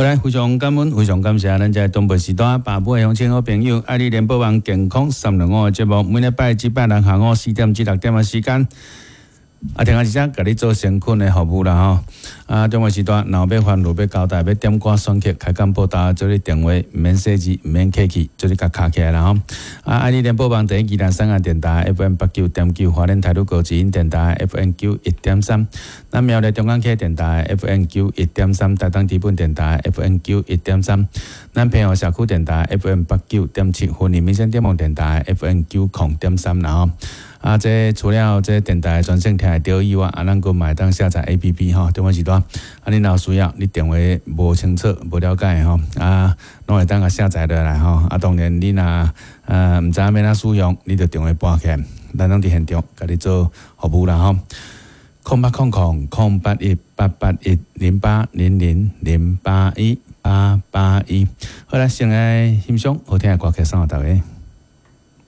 好來，非常感恩，非常感謝咱這東部時段百尾鄉親好朋友，愛你聯播網健康三六五的節目，每禮拜至拜六下午4點至6點的時間。啊，聽下一聲，共你做誠懇的服務啦吼。啊，中午時段，若有欲煩惱欲交代，欲點歌選曲，開講報道，做你電話毋免細緻，毋免客氣，做你共敲起來啦吼。啊，愛你聯播網第一宜蘭三亞電台 FM 89.9，花蓮台女高知音電台 FM 91.3，咱苗栗中港區電台 FM 91.3，台東知本電台 FM 91.3，咱平和社區電台 FM 89.7，雲林民生點網電台 FM 90.3啦吼。啊，這除了這電台專線聽會著以外，啊，咱閣嘛會當下載 APP 吼，中午時段，啊，你若有需要，你電話無清楚、無了解吼，啊，攏會當共下載落來吼。啊，當然你若毋知影欲按怎使用，你就電話撥起來，咱攏佇現場共你做服務啦吼。0800 008 1 881 0800 081 881，好來，先來欣賞好聽的歌曲送予大家。